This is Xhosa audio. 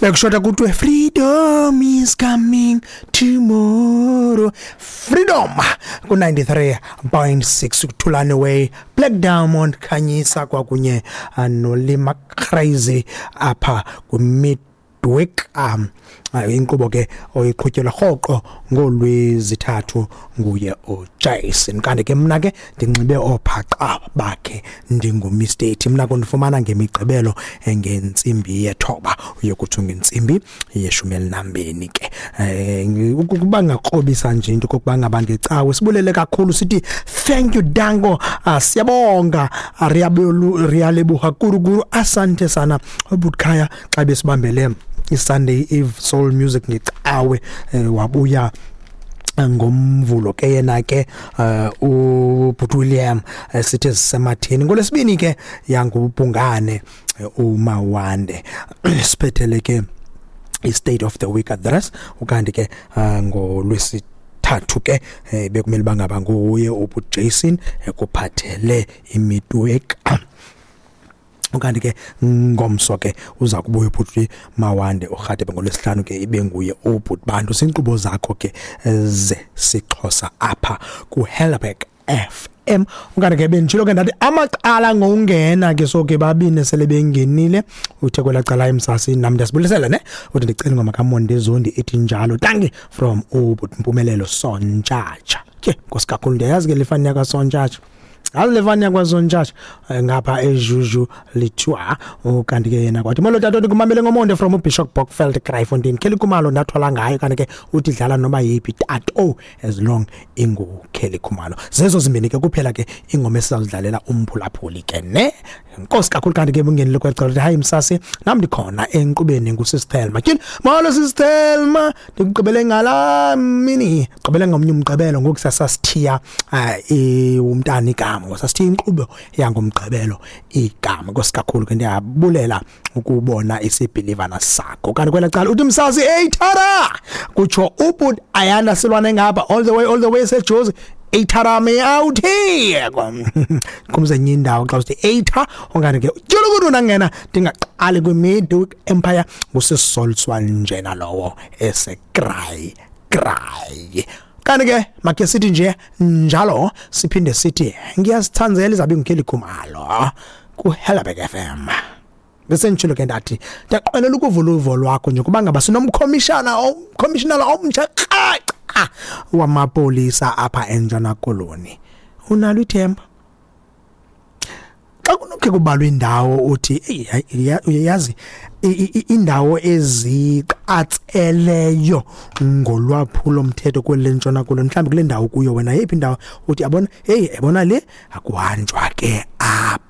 Bekushota kuthiwe freedom is coming tomorrow. Freedom ku-93.6 kuthulane Way, Black Diamond, Khanyisa kwakunye noLima Crazy apha kwimidweek, inkqubo ke oyiqhutyelwa rhoqo ngolwezithathu nguye uJason. Kanti ke mna ke ndinxibe oophaqa bakhe, ndinguMr mna kundifumana ngemigqibelo ngentsimbi 9 uyokutsho ngentsimbi 12 ke. Ukuba ngakrobisa nje into kokuba ngaba ngecawe sibulele kakhulu, sithi thank you, danko, siyabonga, riyalebuha kurukuru, asante sana uButkhaya xa besibambele iSunday Eve Soul Music ngecawe. Wabuya ngomvulo ke yena ke uBhut William, sithe sisematheni. Ngolwesibini ke yangubhungane uMawande siphethele ke i-State of the Week Address. Ukanti ke ngolwesithathu ke bekumele bangaba nguye uBhut Jason ekuphathele imidweek. Ukanti ke ngomso ke uza kubuya ubhuti Mawande uRhatebe. Ngolwesihlanu ke ibe nguye ubhuti Bantu. Zinkqubo zakho ke zesiXhosa apha kuHelberg FM. Ukanti ke benditshilo ke ndathi amacala ngokungena ke, so ke babini sele bengenile. Uthe kwelaa cala emsasi, nam ndiyasibulisela ne, uthi ndicela ingoma kaMonde Zondi ethi Njalo, dankie, from ubhuti Mpumelelo Sontshatsha. Ke nkosi kakhulu, ndiyayazi ke le fani yakwaSontshatsha, hayi, le fani yakwaSontshatsha ngapha eJuju Lithiwa. Ukanti ke yena kwathi molo tata, ndikumamele ngomonde from uBishop Bockfeld, Kraaifontein. Kelly Khumalo ndathwala ngayo. Kanti ke uthi dlala noba yeyiphi tato as long inguKelly Khumalo. Zezo zimbini ke kuphela ke ingoma esizawudlalela umphulaphuli ke ne. Nkosi kakhulu. Kanti ke bungenile kwecala, hayi msasi, nam ndikhona enkqubeni, nguSisThelma. Tyhini, molo SisThelma, ndikugqibele ngalaa mini, gqibele ngomnye umgqibelo ngoku sasasithiya umntana igama, sasithiya inkqubo yangomgqibelo igama. Nkosi kakhulu ke, ndiyabulela ukubona isibhilivana sakho. Kanti kwela cala uthi msasi, hey tara, kutsho ubut Ayanda Silwane ngapha, all the way, all the way seJozi. Eyithara me out here, kumze enye indawo xa usithi eyitha. Okanye ke tyulukudu nangena ndingaqali kwi-Midweek Empire, ngusisolswa njena lowo esekray kray. Kanti ke makhe sithi nje njalo, siphinde sithi ngiyasithanzela izabe nguKelly Khumalo kuHelberg FM. Bese ngitshilo ke ndathi ndiyaqwenela ukuvula uvo lwakho nje kuba ngaba sinomkhomishana, umkhomishinala omtsha kraca wamapolisa apha eNtshona Koloni. Unalo ithemba xa kunokhe kubalwa indawo uthi eyi hayi, uyayazi indawo eziqatseleyo ngolwaphulo mthetho kweli lentshona Koloni, mhlawumbi kule ndawo kuyo wena, yeyiphi indawo uthi yabona, heyi, yabona le akuhanjwa ke apha?